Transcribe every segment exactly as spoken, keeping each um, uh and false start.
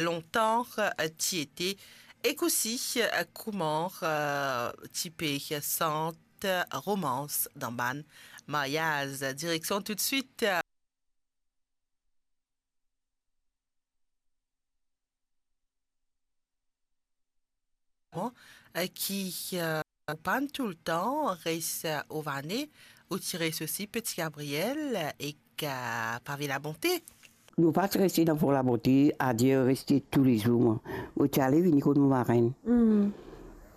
lontan, eh, ti ete, ek osi, eh, kouma, eh, ti pe sant romans dan bann maryaz. Direksion toutswit, eh, eh, ki, eh, pann toultan res, eh, o Vane, ou ti res osi Petit Gabriel, eh, ek, eh, Pavé Labonté. Nou pa ti reste dan Fon Labonté, Adieu reste toulezour, mwa. Mo ti ale vini kot mo marenn. Hmm.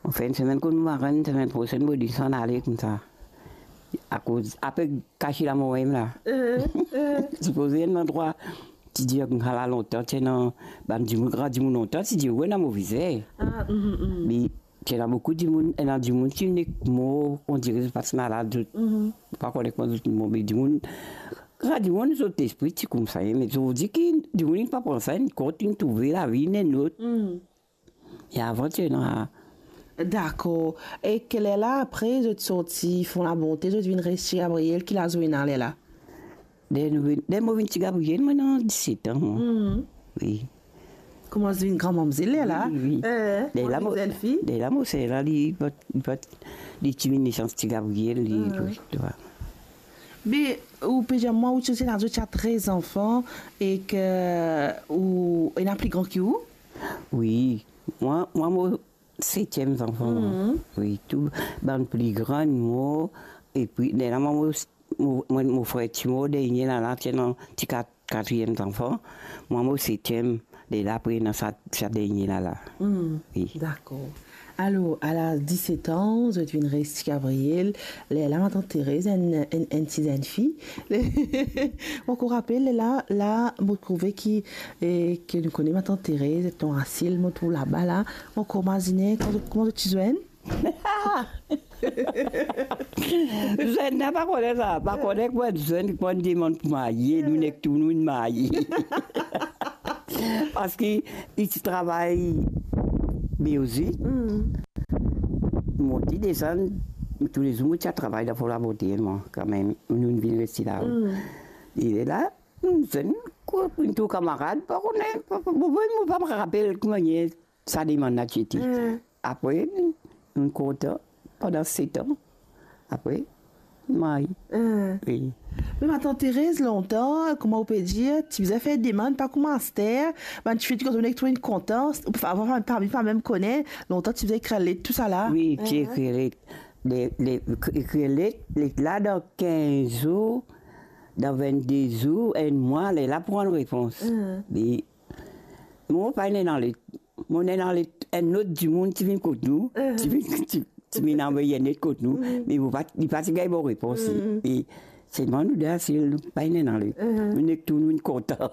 Mo fer enn semenn kot mo marenn, semenn prosenn, mo desann ale koumsa. Akoz, apre kas lamor mem la. Eh, eh. Sipoze enn landrwa, ti dir, ala lontan, ti ena bann dimoun, gran dimoun lontan, ti dir, wi, ena move zer. Ah, mhm, mhm. Me ti ena boukou dimoun, ena dimoun ti nek mor, on dire zot pa ti malad, zot, mhm, pa kone kouma zot mor, me dimoun, gran dimoun, zot lespri ti koumsa, me zot dir ki dimoun inn pa pran sa an kont, inn trouve lavi, inn enn lot. Mm. E avan ti ena. Dakor. Ek lerla apre, zot sorti Fon Labonté, zot vinn res Ti Gabriel, ki laz ou ena lerla? Ler nou vinn, ler mo vinn Ti Gabriel, mo ena diset an, mwa. Mm. Wi. Koumans vinn gran mamzel lerla? Wi, wi. Eh, lerla mo, zenn fi? Lerla mo ser la, li pa, li pa, li ti vinn nesans Ti Gabriel, li, ah, tu vois. Me ou pe dir mwa, ou ti, ti ena, ti ena trez zanfan ek ou ena pli gran ki ou? Wi, mwa, mwa mo setiem zanfan, mwa. Mhm. Wi, tou bann pli gran mor, epi lerla mwa mo, mo, mo, mo frer ti mor dernie la, la, ti ena ti kat, katriem zanfan. Mwa mo setiem, lerla apre ena sa, sa dernie la, la. Hmm, wi. Dakor. Alor, a laz diset an, zot vinn res Ti Gabriel. Lerla matant Terez, enn, enn, enn ti zenn fi. Mo ankor rapel, lerla, la, mo trouve ki, eh, ki nou kone matant Terez, ton asil, mo trouv laba la. Mo ankor mazine, kouma, kouma zot ti zwenn? Zwenn la, pa kone sa, pa kone kouma zwenn, kouma demann pou marye, nou nek tou nou inn marye. Parski li ti travay Beozi. Hmm. Monte desann, toulezour mo ti al travay dan Fon Labonté, mwa, kanmem, nou vinn reste la. Hmm. E la, nou zwenn, kouma, nou tou kamarad, pa kone, pa, pa, mo, mo, mo pa rapel kouma sa demann la ti ete. Hmm. Apre, nou kontan pandan set an. Apre, marye. Hmm. Wi. Me matant Terez, lontan, kouma ou pe dir, ti bizin fer demann, pa kouma aster, bann tifi ti kontan, nek tou inn kontan, ou pa, pa, pa, pa mem kone, lontan ti bizin ekrir let, tousala. Wi, ti ekrir let. Le, le, ekrir let, let la dan kinz zour, dan vennde zour, enn mwa, lerla pou rann repons. Hmm. Me mo pa ena let. Mo ena let, enn lot dimoun ti vinn kot nou, mhm, ti vinn, ti, ti vinn anvoy enn let kot nou, mhm, me mo pa, li pa ti gagn bon repons. Mhm. E selman nou de asil, nou pa ena let. Mhm. Nou nek tou nou inn kontan.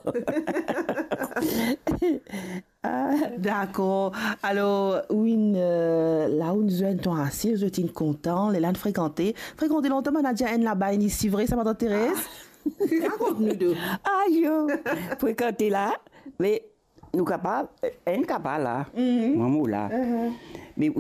Ah. Dakor. Alor, ou inn, eh, la ou inn zwenn ton asil, zot inn kontan, lerla inn frekante. Frekante lontan, bann Adya enn laba, enn isi, vre sa, matant Terez? Ah. Rakont nou de. Ayo, frekante la, me nou kapav, enn kapav la, mhm, mwa mo la. Mhm. Me ou